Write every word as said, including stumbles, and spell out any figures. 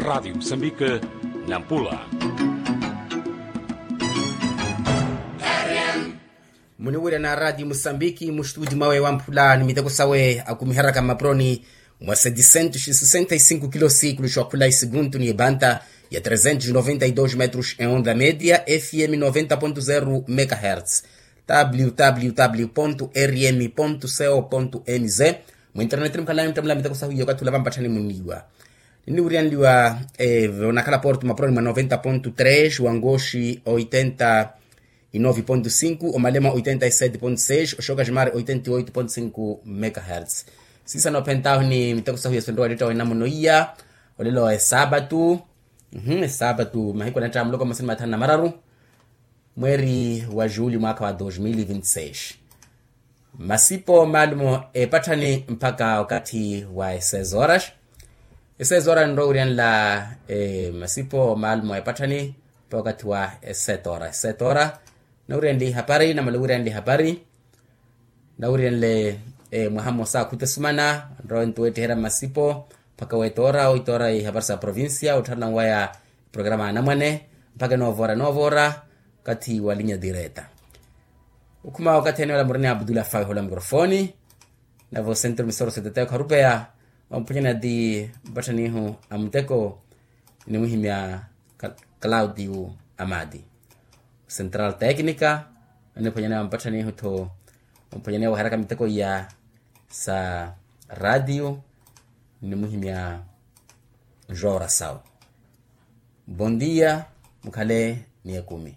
Radiyo musambike, nampula. Muniwirya na radiyo musambiki mustuti mwawe wamphula ni miteko sawe akumiharaka mmapuroni mwa sedisentu sisenta isinkuki lo sikulu xwakhula isiguntu ni ebanta ya tresentu noventa idosi metros e onda media fm noventa pontu zeru megahertz, www rm co mz. Mu internet ni mukhalani muttamula miteko sahu iyo kathi ula vampatthani munniwa. Ninniwiryanliwa, eh, onakhala porto mapuroni mwa noventa pontu tres wangoxi oitenta inovi pontu sinku omalema oitenta iseti pontu seis oxoka ximari oitenta ioitu pontu sinku megahertz. Sisa noophentahu ni miteko sahu ya sonrowa litta wa inamuno iya. Olelo esapatu. Esapatu mahiku anatta muloko masini mathanu na mararu mweeri wa juli mwaakha wa dos mil vinti seis. Masipo maalumo epatthani mpakha okathi wa esezoras. Esezoras nroowiryanla masipo maalumo epatthani mpakha okathi wa esetora esetora. Nawiryanle ihapari namala owiryanle ihapari. Nawiryanle mwaha mmosa akhuta esumana nrowe nto weettiherya mmasipo mpakha weetora oitoora ihapari sa provincia ottharana waya programa anamwane mpakha enoovora enoovora kathi wa linya direta. Okhuma wakathi ene wala murina abdula fawe hola mikrofoni. Navo sentro misoro setete kharupeya. Omphonyana ti mpatthanihu a muteko nimwihimya claudio amadi central tecnica. Aniphonyana mpatthanihutho omphonyana waheraka miteko iya sa radio. Nimwihimya joora sawo. Bon dia. Mukhale ni ekumi.